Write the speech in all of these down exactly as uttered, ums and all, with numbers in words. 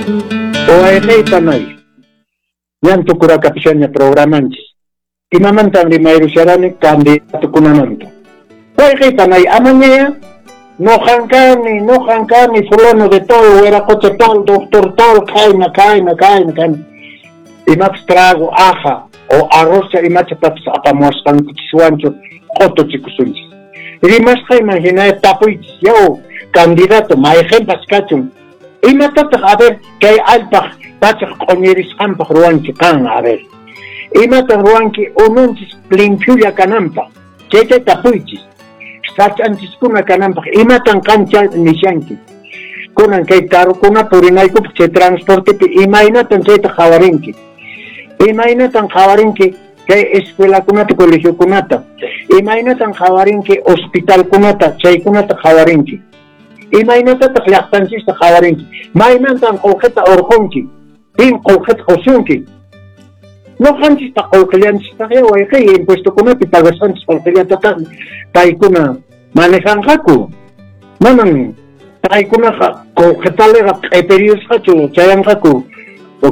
Wayqey panay, ñan tukurakapishaña programanchis. Imamantan rimayrusharani candidatukunamanta. Wayqey panay, amañaya noqan kani, noqan kani, fulano de tal, wiraqocha tal, doctor tal, kayna, kayna, kayna, kayna. Imapas trago, aja, o arroz imachatapas apamuwasqankichiswanchu q'utuchikusunchis. Rimasqayman hina tapuychis, yaw, candidato, mayqinpas kachun. Imatataq, a ver, kay allpaq pachaq q'uñirisqanpaq ruwanki qan, a ver. Imatan ruwanki ununchis limpiolla kananpaq, chayta tapuychis. Sach'anchiskuna kananpaq, imatan qancha nishanki. Kunan kay karukuna purinaykupaq chay transportepi imaynatan chayta qhawarinki. Imaynatan qhawarinki kay escuelakunata, colegiokunata. Imaynatan qhawarinki hospitalkunata, chaykunata qhawarinki. Imaynatataq llaqtanchista qhawarinki. Maymantan qullqita urqunki. Pin qullqita qusunki. Noqanchista qullqillanchistaqya wayqey impuestokunapi pagasqanchis qullqillatataqmi paykuna manejanqaku. Manan paykunaqa qullqitaliqa q'ipiriyusqachu chayanqaku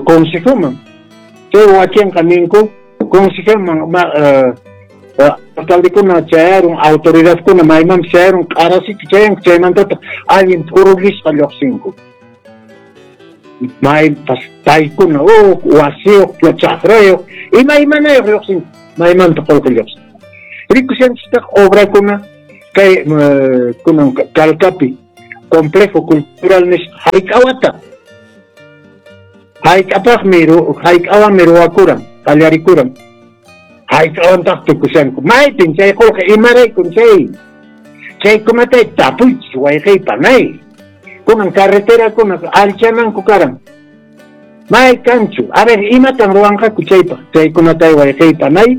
consejoman. Chay wakinqa ninku consejoman ma alcaldekuna chayarun, autoridadkuna maymanpas chayarun, q'arasichu chayanku, chaymantataq allin t'urullisqa lluqsinku. Maypas paykuna huk wasiyuq, chakrayuq, imaymanayuq lluqsinku, maymanta qullqi lluqsin. Rikushanchistaq obrakuna kay kunan Calcapi complejo cultural nisqa hayk'awata. Hayk'apaqmi hayk'awanmi ruwakuran, qallarikuran. Hayk'awantaq tukushanku. Maypin chay qullqi, imaraykun chay. Chaykunatay tapuychis wayqey panay. Kunan carreterakuna allchananku karan. May kanchu. A ver, imatan ruwanqaku chaypaq. Chaykunatay wayqey panay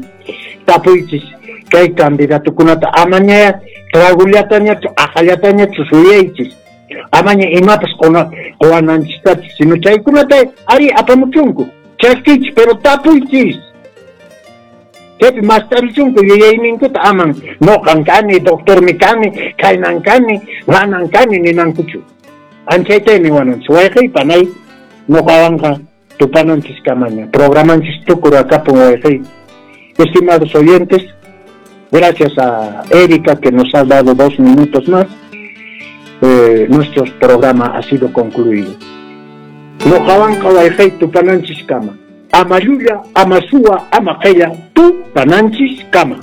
tapuychis kay candidatukunata amaña tragullatañachu, aqallatañachu suyaychis. Amaña imapas quwananchistachu, sino chaykunata ari apamuchunku. Chaskichis, pero tapuychis. Chaypi mastarichunku yuyayninkuta aman noqan kani, doctormi kani, kaynan kani, manan kani ninankuchu. Anchaytay niwananchis. Wayqey panay noqawanqa tupananchis kamaña. Programanchis tukurakapun wayqey. Estimados oyentes, gracias a Erika que nos ha dado dos minutos más, eh, nuestro programa ha sido concluido. Noqawanqa wayqey tupananchis kama. Ama llulla, ama suwa, ama qella, tupananchis kama.